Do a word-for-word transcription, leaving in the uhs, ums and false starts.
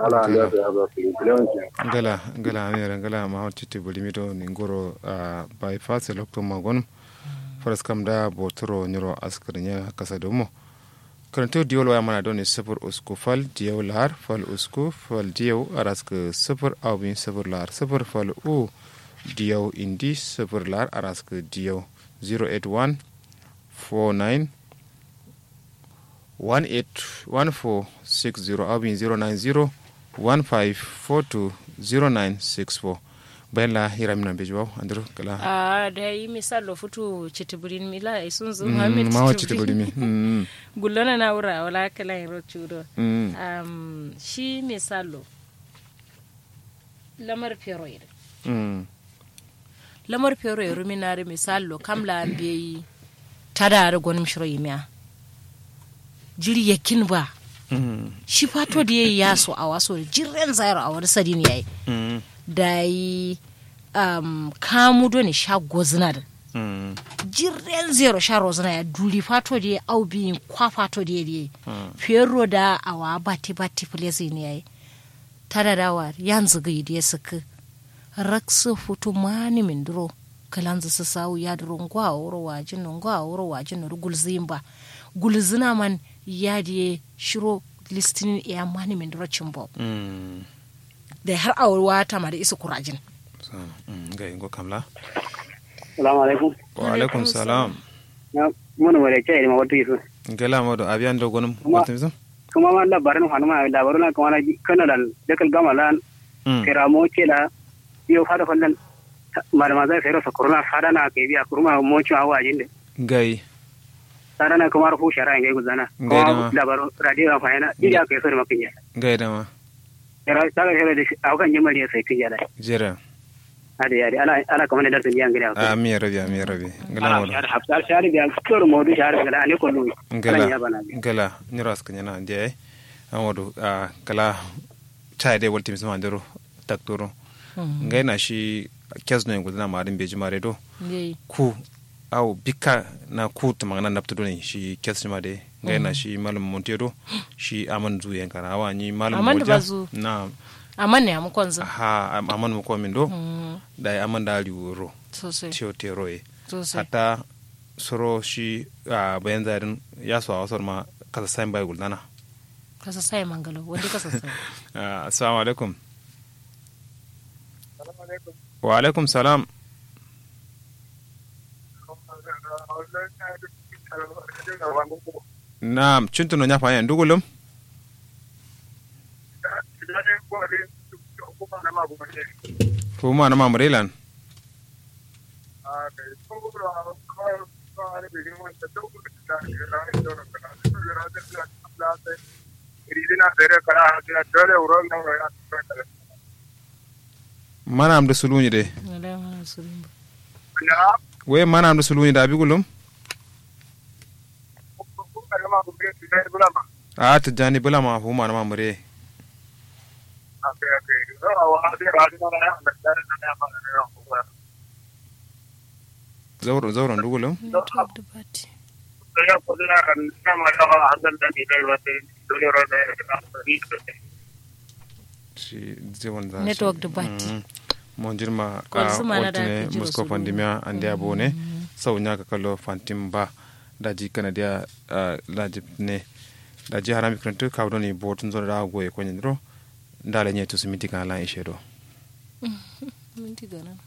Ala andeya so ya so kiri kilewanci. Ngala ngala amiyere ngala muhammad citti bulimi do ni ngoro. Bypass lokto magonum. Faraskam da boturo nyiro askirnya kasa domo. Karanto diyau lo waya mana doni sifir usku fal diyau lahar fal usku fal diyau araskǝ sifir aubin sifir lahar sifir fal u diyau indi sifir lahar araskǝ diyau. Zero eight one four nine one eight one four six zero aubin zero nine zero one five four two zero nine six four. Bayan la hira mina beji bawo andiro kala. A da yi misal lo futu citibirin mila isunzu muhammad mawa citibirin. Gullona na wura wala kala yin rocu do. Shi misal lo lamar fero yi. Lamar fero yi rumin na da misal lo kam la an beyi tada da gwanin shiro yi miya. Jiri yakin ba. Shi fato da yayi yaso a waso da jiren zairo a wani sadin yayi. Da yi kamu doni sha gozina da jiren zairo sha rozina ya duri fato da yayi au biyin kwa fato da yayi. Fero da awa bati bati fulesi ne yayi. Tada da wa yanzu ga yi da ya saki. Raksu futu mani mindiro. Kalanzu su sawu yadiro ngwa wuro wajin no ngwa wuro wajin no gulzin ba. Gulzina man yadiye shiro listinin iya mani mindiro cimbo. Da har awurwa tamari isu kurajin. Ngai ngo kamla. Salamu alaikum. Wa alaikum salam. Munu wale chai ma watu yisu. Ngela modo abiyan do gonum watu yisu. Kuma ma labarin hanu ma labarin na kuma na kano dan dakal gama lan. Kira mo ce la yo fada fallan. Marma zai sai rosa kuruna fada na kai biya kuruma mo ci awa jinde. Ngai. Fada na kuma rufu shara ngai guzana. Ngai dama. Labarin radio na fayana iya kai so da makinya. Ngai dama. Yara saga yara da shi aukan jimari ya sai kin jada. Jira. Ade ade ala ala kamar da darsin biyan gida. Amin ya rabi amin ya rabi. Ngala modu. Hafsar shari biyan kor modu shari ngala ne kullu. Ngala ngala nyiro askan yana ndiye. Amodu kala. Chai de walti misma ndero taktoro. Ngai na shi kes no ngudana ma adin beji mare do. Ku au bikka na ku tumangana naptu doni shi kes shima de. Ngai na shi malum monte do. Shi aman zu yankana awa ni malum moja. Na aman ne amu konzu. Aha aman mu komin do. Dai aman da riwuro. Sosai. Tiyo tero ye. Sosai. Hatta soro shi a bayan zarin ya so a wasar ma kasa sayin bai guldana. Kasa sayin mangalo wanda kasa sayin. Assalamu alaikum. Wa alaikum salam. Naam cuntu no nya fanya ndugulum. Fuma na mamure lan. Mana amdu sulunyi de. Wai mana amdu sulunyi da abi gulum. A tijjani bulama fuma na mamure. Zauro zauro ndugulum. Network du bati. Monjirma a wultune musko fandimiya andiya bone. Sau nyaka kallo fantim ba. Daji kanadiya. Daji ne. Daji harami krantu kawo doni botun zoro da goye konyandiro. Ndala nye tusu minti kana lan ishe do. Minti kana.